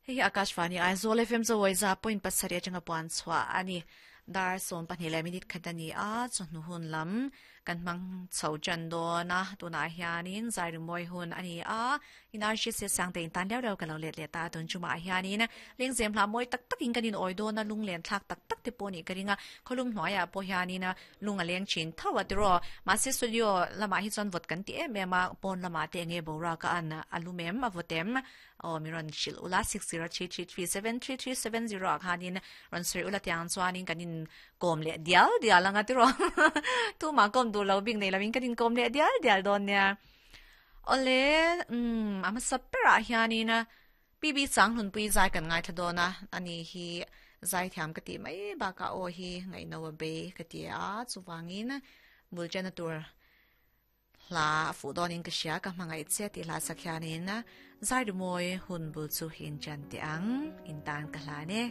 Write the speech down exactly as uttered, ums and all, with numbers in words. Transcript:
Hei Akashvani Aizawl F M zawai za point pasarih atanga puan chhuah ani. Dar sawm pahnih leh minute khat ani a, chawhnu hun lam kan hmang chho tan dawn a, tunah hianin zai rimawi hun ani a, in R C C sang te in tan deuh deuh ka lo let leh ta tun chumah hianin lengzem hla mawi tak takin kan in awi dawn a, lung len thlak tak tak te pawh nih ka ring a, khawlum hnuaiah pawh hianin lung a leng thin tho a tiraw, mahse studio lamah hi chuan vawt kan ti em em a, pawn lamah te enge boruak a an a lum em a vawt em aw mi rawn hrilh ula six zero three three three seven three three seven zero ah khanin rawn sawi ula tiang chuanin kan in kawm leh dial dial anga tiraw tumah kawm duh lo bik nei lovin kan in kawm leh dial dial dawn nia awle umm a hmasa berah hianin P B Changhlunpui zai kan ngaithla dawn a ani hi zai thiam ka tih mai bakah aw hi ngaihno a bei ka ti a chuvangin bul chena tur hla a fuh dawnin ka hria ka hmangaih che tih hla sak hianin zai rimawi hun bul chu in chan teh ang in tan ka hlan e.